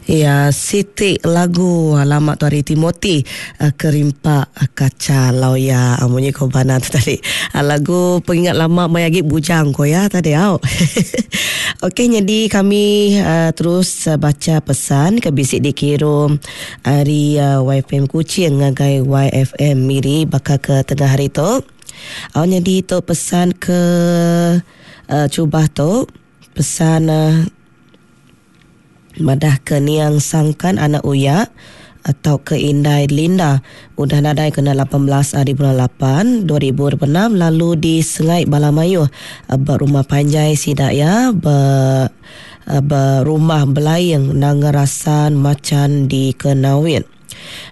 Iya siti lagu lama tu ari Timothy Kerimpak Kaca Lawya munyi ko bana tu tadi. Lagu pengingat lama maya agi bujang ko iya tadi au. Okey nyadi kami terus bacha pesan ke bisi dikirum ari YFM Kuching ngagai YFM Miri baka ke tengah hari tu. Au nyadi tu pesan ke chubah tu pesan Madahka niang sangkan anak uya tauka indai Linda udah nadai kena 18 ari bulan lapan 2026 lalu disengai bala mayuh ba rumah panjai sida iya ba ba Rumah Belaing Nanga Rasan Machan di Kenawit.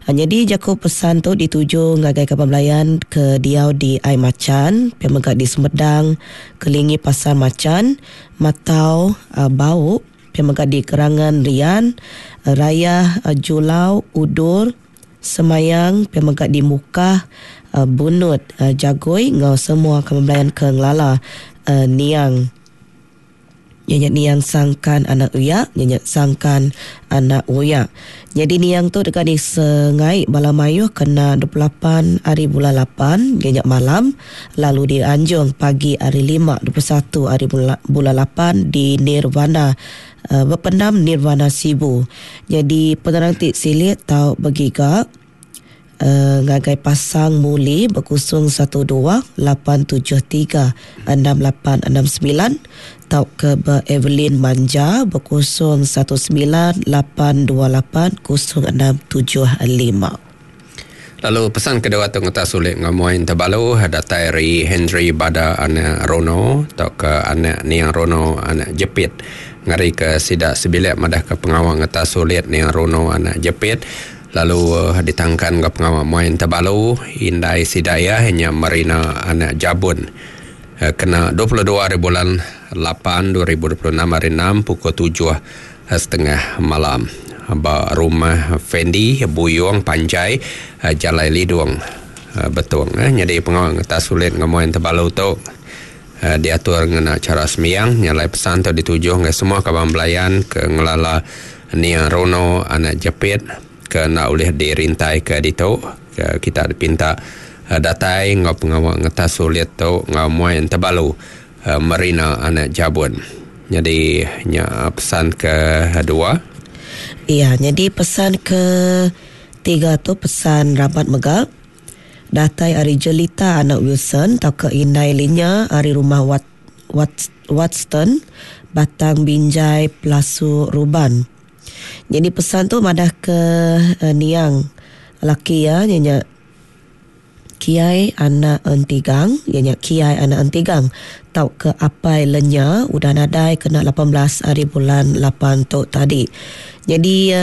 Nyadi jaku pesan tu dituju ngagai kaban belayan ke diau di Ai Machan pia mega di Sumedang kelingi Pasar Machan, Matau, Bau. Pia mega di Kerangan Rian, Rayah, Julau, Udur, Semayang, pia mega di Mukah, Bunut, Jagoi enggau semua kaban belayan ke ngelala niang. Iya nya niang Sangkan anak Uyak, iya nya Sangkan anak Uyak. Nyadi niang tu deka disengai bala mayuh kena 28 ari bulan lapan, iya nya malam, lalu dianjung pagi hari Lima 21 ari bulan lapan di Nirvana Bependam Nirvana Sibu. Nyadi penerang ti silik tau begiga ngagai Pasang Muli bekusung 12 873 6869 tauka ba Evelyn Manja bekusung 19 828 0675. Lalu pesan kedua tu ngetas ulit enggau muai Entebalu datai ari Henry Bada anak Rono tauka anak Niang Rono anak Jepit ngarika sida sebilik madahka pengawa ngetas ulit Niang Rono anak Jepit lalu ditangkan enggau pengawa muai Entebalu indai sida iya nya Marina anak Jabun kena 22 hari bulan lapan 2026 hari enam pukul tujuh setengah malam ba Rumah Fendi, Buyong Panjai, Jalai Lidong, Betong. Nyadi pengawa ngetas ulit enggau muai Entebalu tu diatur ngena chara sembiang nya alai pesan tu dituju ngagai semua kaban belayan ke ngelala Nia Rono anak Jepit ke enda ulih dirintaika ditu ke kita dipinta datai enggau pengawa ngetas ulit tu enggau muai Entebalu Marina anak Jabun. Nyadi nya pesan ke dua. Iya, nyadi pesan ke tiga tu pesan rabat mega datai ari Jelita anak Wilson tauka indai Linya ari rumah Wat Wat Watston Batang Binjai Pelasu Ruban. Nyadi pesan tu madah ke niang laki iya nya Kiai anak Entigang, iya nya Kiai anak Entigang tauka Apai Lenya udah nadai kena 18 ari bulan lapan tu tadi. Nyadi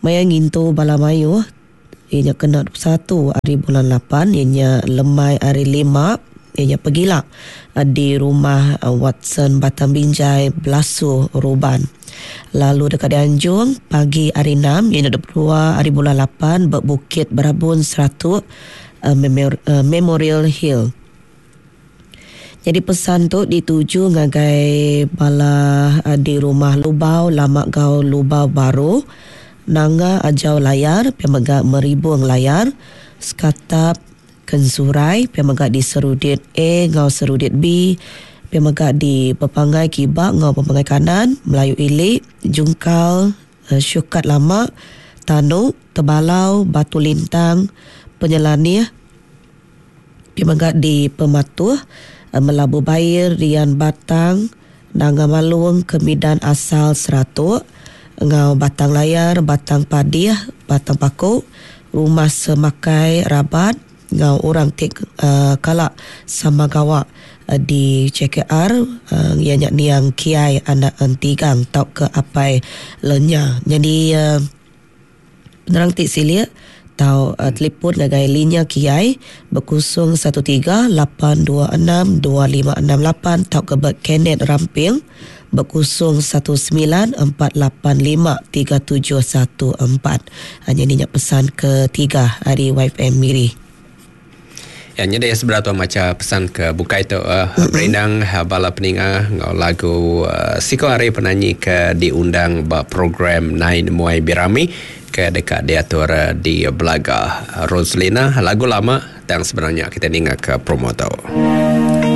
maya ngintu bala mayuh iya nya kena 21 ari bulan lapan iya nya lemai ari lima iya nya pegila di rumah Watson Batang Binjai Belasu Ruban. Lalu deka dianjung pagi hari Enam iya nya 22 hari bulan lapan ba Bukit Berabun Seratuk Memorial Hill. Nyadi pesan tu dituju ngagai bala di Rumah Lubau Lama enggau Lubau Baru, Nanga Ajau Layar pia mega Meribung Layar, Sekatap, Kensurai, pia mega di Serudit A enggau Serudit B, pia mega di Pepangai Kiba enggau Pepangai Kanan, Melayu Ili, Jungkal, Shukat Lama, Tanu, Tebalau, Batu Lintang, Penyelanih, pia mega di Pematuh, Melabu Bair, Rian Batang, Nanga Malung, Kemidan Asal Seratok, enggau Batang Layar, Batang Padih, Batang Paku, Rumah Semakai Rabat enggau orang ti kala sama gawa di JKR iya nya niang Kiai anak Entigang tauka Apai Lenya. Nyadi Penerang ti silik tau telipon ngagai Linya Kiai ba 013 826 2568 tauka ba Kenneth Ramping ba 019 485 3714. Nyadi nya pesan ketiga ari YFM Miri. Ya nyadi sebedau tu macha pesan ke bukai tu uh, mm-hmm. berindang uh, bala peninga enggau lagu uh, siko hari penanyi ke diundang ba program Nai Nemuai Birami ke deka diatur uh, di Belaga. Roslina lagu lama tang sebenarnya kita ninga ke promo tu.